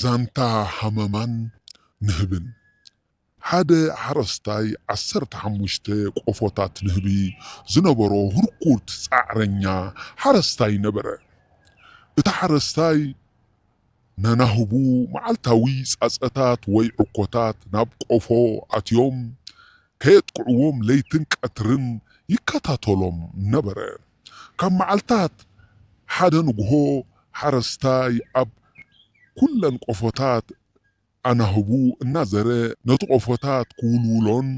ዛንታ ሃመማን ንህብን። ሓደ ሓረስታይ ዓሰርተ ሓሙሽተ ቆፎታት ንህቢ ዝነበሮ ህርኩት ጻዕረኛ ሓረስታይ ነበረ። እቲ ሓረስታይ ነናህቡ መዓልታዊ ጻጸታት ወይ ዕኮታት ናብ ቆፎ ኣትዮም ከየጥቅዕዎም ለይትን ቀትርን ይከታተሎም ነበረ። ካብ መዓልታት ሓደ ንግሆ ሓረስታይ ኣብ ኩለን ቆፎታት ኣናህቡ እናዘረ ነቲ ቆፎታት ክውልውሎን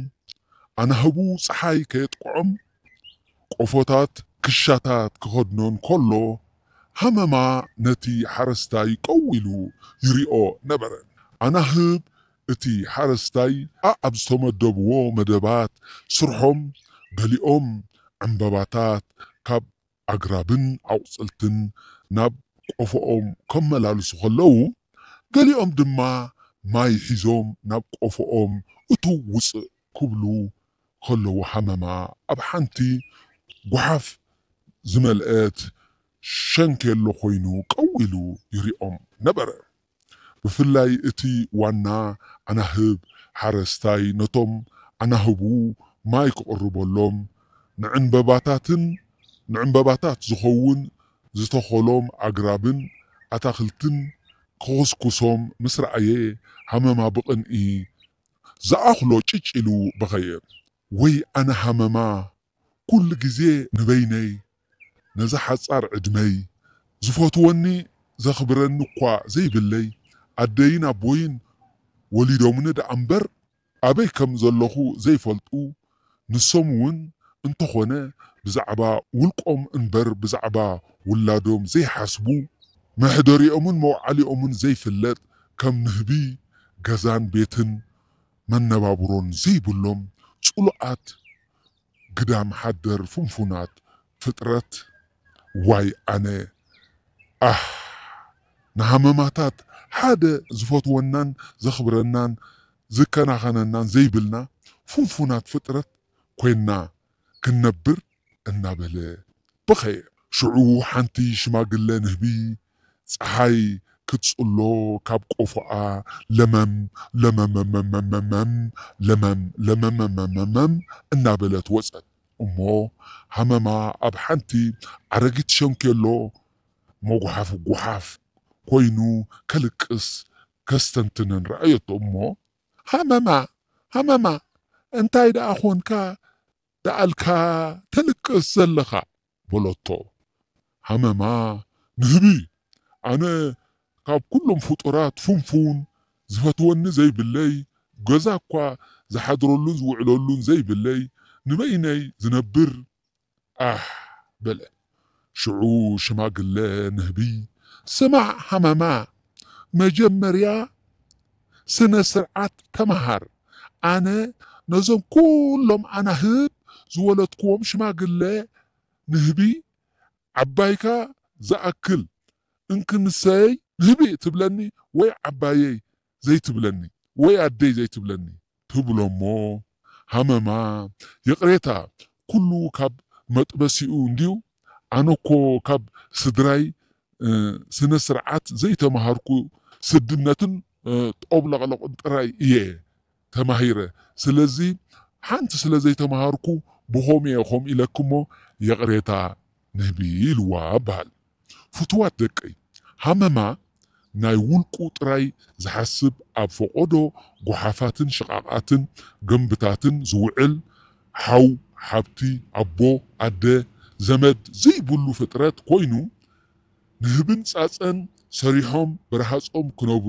ኣናህቡ ጸሓይ ከየጥቅዖም ቆፎታት ክሻታት ክኸድኖን ከሎ ሃመማ ነቲ ሓረስታይ ቀው ኢሉ ይሪኦ ነበረ። ኣናህብ እቲ ሓረስታይ ኣብ ዝተመደብዎ መደባት ስርሖም ገሊኦም ዕምበባታት ካብ ኣግራብን ኣቑጽልትን ናብ ቆፎኦም ከመላልሱ ከለዉ፣ ገሊኦም ድማ ማይ ሒዞም ናብ ቆፎኦም እትው ውጽእ ክብሉ ከለዉ ሃመማ ኣብ ሓንቲ ጓሓፍ ዝመልአት ሸንኬሎ ኮይኑ ቀው ኢሉ ይሪኦም ነበረ። ብፍላይ እቲ ዋና ኣናህብ ሓረስታይ ነቶም ኣናህቡ ማይ ክቕርበሎም ንዕንበባታትን ንዕንበባታት ዝኸውን ዝተኸሎም ኣግራብን ኣታኽልትን ክኹስኩሶም ምስ ረኣየ ሃመማ ብቕንኢ ዝኣኽሎ ጭጭ ኢሉ በኸየ። ወይ ኣነ ሃመማ ኩሉ ግዜ ንበይነይ ነዛ ሓጻር ዕድመይ ዝፈትወኒ ዘኽብረኒ እኳ ዘይብለይ ኣደይን ኣቦይን ወሊዶምኒ ደኣ እምበር ኣበይ ከም ዘለኹ ዘይፈልጡ ንሶም እውን እንተኾነ ብዛዕባ ውልቆም እምበር ብዛዕባ ውላዶም ዘይሓስቡ መሕደሪኦምን መውዓሊኦምን ዘይፍለጥ ከም ንህቢ ገዛን ቤትን መነባብሮን ዘይብሎም ጽሉኣት ግዳም ሓደር ፍንፉናት ፍጥረት ዋይ ኣነ ኣህ ንሃመማታት ሓደ ዝፈትወናን ዘኽብረናን ዝከናኸነናን ዘይብልና ፍንፉናት ፍጥረት ኮይንና ክንነብር እናበለ በኸየ። ሽዑ ሓንቲ ሽማግለ ንህቢ ጸሓይ ክትጽሎ ካብ ቆፎኣ ለመም ለመመመመመም ለመም ለመመመመመም እናበለት ወጸት። እሞ ሃመማ ኣብ ሓንቲ ኣረጊት ሸንኬሎ መጉሓፍ ጓሓፍ ኮይኑ ከልቅስ ከስተንትንን ረኣየቶ። እሞ ሃመማ ሃመማ እንታይ ደኣ ኾንካ ደኣልካ ተልቅስ ዘለኻ? በለቶ። ሃመማ ንህቢ ኣነ ካብ ኩሎም ፍጡራት ፍንፉን ዝፈትወኒ ዘይብለይ ገዛ እኳ ዝሓድረሉን ዝውዕለሉን ዘይብለይ ንበይነይ ዝነብር ኣህ በለ። ሽዑ ሽማግለ ንህቢ ስማዕ ሃመማ መጀመርያ ስነ ስርዓት ተመሃር። ኣነ ነዞም ኩሎም ኣናህብ ዝወለድክዎም ሽማግለ ንህቢ ዓባይካ ዝኣክል እንክንሰይ ንህቢ ትብለኒ ወይ ዓባየይ ዘይትብለኒ ወይ ኣደይ ዘይትብለኒ ትብሎ እሞ ሃመማ ይቕሬታ ኩሉ ካብ መጥበሲኡ እንድዩ ኣነኮ ካብ ስድራይ ስነ ስርዓት ዘይተማሃርኩ ስድነትን ጦብለቕለቕን ጥራይ እየ ተማሂረ ስለዚ ሓንቲ ስለ ዘይተማሃርኩ ብኸምኡ እየ ከምኡ ኢለኪ እሞ ይቕሬታ ንህቢ ኢልዋ እበሃል። ፍቱዋት ደቀይ፣ ሃመማ ናይ ውልቁ ጥራይ ዝሓስብ ኣብ ፈቖዶ ጓሓፋትን ሽቓቓትን ገምብታትን ዝውዕል ሓው፣ ሓብቲ፣ ኣቦ፣ ኣደ፣ ዘመድ ዘይብሉ ፍጥረት ኮይኑ ንህብን ጻጸን ሰሪሖም ብረሃጾም ክነብሩ